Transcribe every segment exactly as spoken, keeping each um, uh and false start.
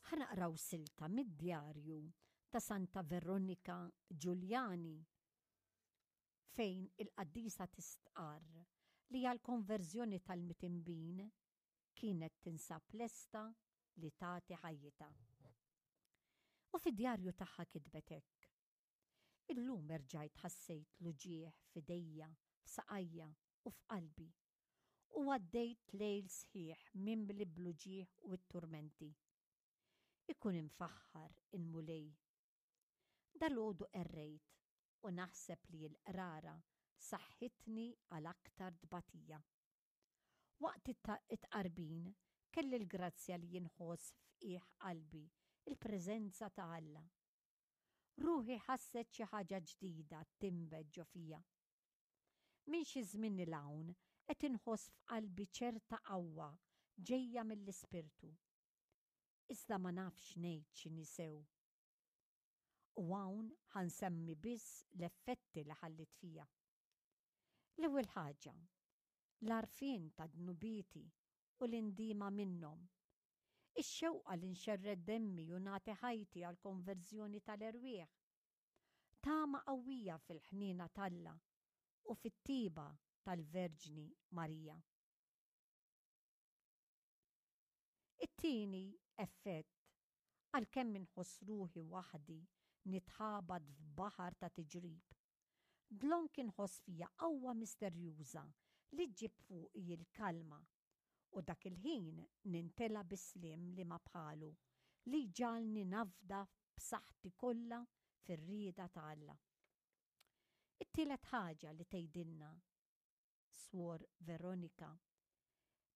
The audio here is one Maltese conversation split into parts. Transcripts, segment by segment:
Ħa naqraw silta mid-djarju ta' Santa Veronika Giuliani fejn il-qaddisa tistqarr li għall-konverżjoni tal-midinbin kienet tinsab lesta li tagħti ħajjitha. U fid-djarju tagħha kitbet hekk: Illum erġajt ħassejt l-uġigħ f'idejja, f'saqajja u f'qalbi u għaddejt lejl sħiħ mimli bl-uġigħ u t-turmenti. Ikun imfaħħar il-Mulej. Dalgħodu qerrejt u naħseb li l-qrara saħħitni għal aktar tbatija. Waqt it-tqarbin kelli l-grazzja li jinħoss f'qiegħ qalbi il-preżenza ta' Alla. Ruħi ħasset xi ħaġa ġdida tinbet ġo fija. Minn xi żmien 'l hawn qed inħoss f'qalbi ċerta qawwa ġejja mill-Ispirtu. Iżda ma nafx ngħid x'inhi sew. U hawn ħa nsemmi biss l-effetti li ħalliet fija. L-ewwel ħaġa, l-għarfien ta' dnubieti u l-indiema minnhom. Ix-xewqa li nxerred demmi u nagħti ħajti għall-konverżjoni tal-erwieħ. Tama qawwija fil-ħniena t'Alla u fit-tiba tal-Verġni Marija. It-tieni effett, għalkemm inħoss ruħi waħdi nitħabat f'baħar ta' tiġrib, dlonk inħoss fija qawwa misterjuża li ġġib fuqi l-kalma u dak il-ħin nintela' bi sliem li ma bħalu li jġagħalni nafda b'saħħti kollha fir-rieda ta' Alla. It-tielet ħaġa li tgħidilna Swor Veronika,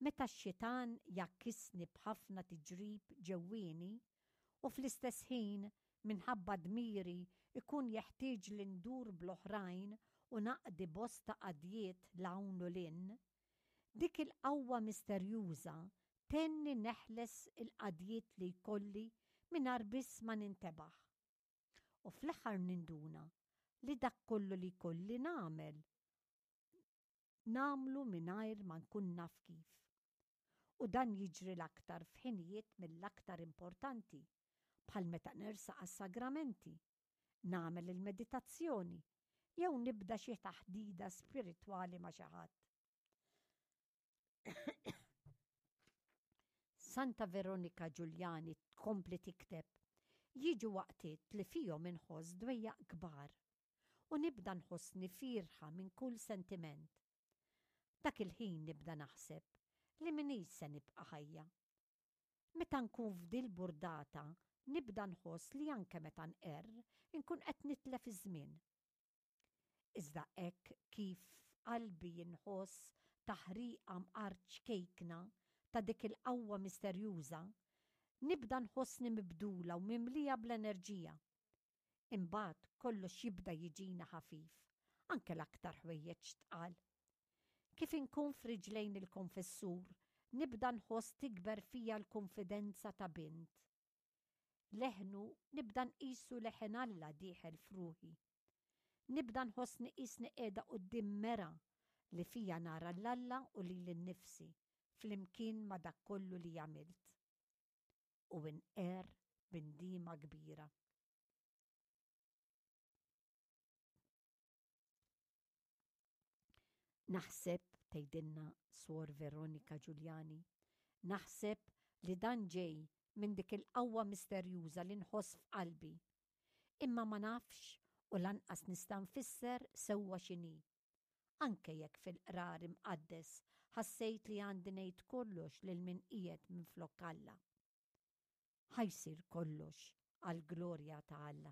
meta x-xitan jgħakkisni b'ħafna tiġrib ġewwieni u fl-istess ħin minħabba dmiri jkun jeħtieġli ndur bl-oħrajn u naqdi bosta qadjiet 'l hawn u 'l hinn, dik il-qawwa misterjuża tgħinni neħles il-qadjiet li jkolli mingħajr biss ma nintebaħ. U fl-aħħar ninduna li dak kollu li jkolli nagħmel nagħmlu mingħajr ma nkun naf kif. U dan jiġri l-aktar f'ħinijiet mill-aktar importanti, bħal meta nersaq għas-sagramenti, nagħmel il-meditazzjoni jew nibda xi taħdida spiritwali ma' xi ħadd. Santa Veronika Giuliani tkompli tikteb, jiġu waqtiet li fihom inħoss dwejjaq kbar u nibda nħossni fierħa minn kull sentiment. Dak il-ħin nibda naħseb li m'iniex se nibqa' ħajja. Meta nkun f'dil burdata nibda nħoss li anke meta nqerr inkun qed nitlef iż-żmien. Iżda hekk kif f'qalbi inħoss taħriqa mqar ċkejkna ta' dik il-qawwa misterjuża, nibda nħossni mibdula u mimlija bl-enerġija. Imbagħad kollox jibda jiġina ħafif, anke l-aktar ħwejjeġ tqal. Kif inkun f'riġlejn il-konfessur, nibda nħoss tikber fija l-konfidenza ta' bint. Leħnu nibda nqisu leħen Alla dieħel f'ruħi. Nibda nħossni qisni qiegħda quddiem mera li fija nara 'l Alla u lili nnifsi flimkien ma' dak kollu li għamilt. U nqerr b'indiema kbira. Naħseb, tgħidilna Suor Veronika Giuliani, naħseb li dan ġej minn dik il-qawwa misterjuża li nħoss f'qalbi. Imma ma nafx u lanqas nista' nfisser sewwa x'inhi. Anke jekk fil-qrar imqaddes ħassejt li għandi ngħid kollox lil min qiegħed minflok Alla. Ħa jsir kollox għall-glorja ta' Alla.